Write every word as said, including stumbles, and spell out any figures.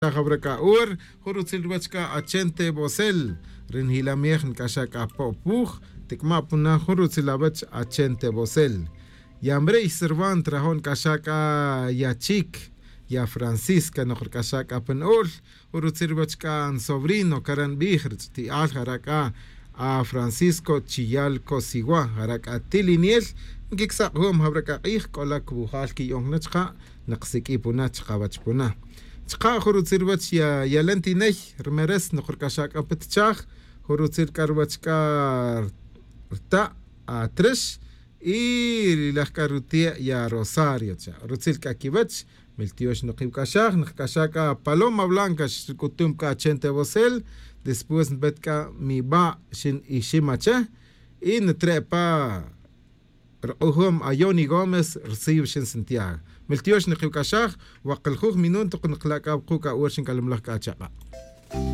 Jawra c'a ur jun rutzil ruwech c'a achente bosel. Ri njilamej nc'axa' c'a po'puj. Tic'ma' puna jun rutzil awech achente bosel. Ya mrey sirvan trajo' nc'axa' c'a ya chik, ya francisca noq rc'axa' c'a pa na'ul. Jun rutzil ruwech c'a nsobrino cara' nbij rich'ti'al jara' c'a a francisco chiyal cosiwa jara' c'a tiliniel. Nquicsak'jom jawra c'a k'ij c'ola cubujal quiyo'on jna' chka' naqsiq'ui puna chkawech puna. Chka' jun rutzil ruwech ya yalentiney rmeres noq rc'axa' c'a pa tichaj. Jun rutzil c'a ruwech c'a rta' atrix y ri laj c'a rutie' ya rosario cha' rutzil c'a quiwech. Miltiox noq iwc'axaj nqc'axaj c'a paloma blanca xric'utum c'a achente bosel. Después npet c'a miba' xin ixim ache. Y ntre' pa rk'ujum ayoni gómez rsiw xin santiago. Miltiox nikiwc'axaj. Waqiljuj minun toq nikla' c'a wuku' c'a ur xinc'alamlaj c'a chak'a'.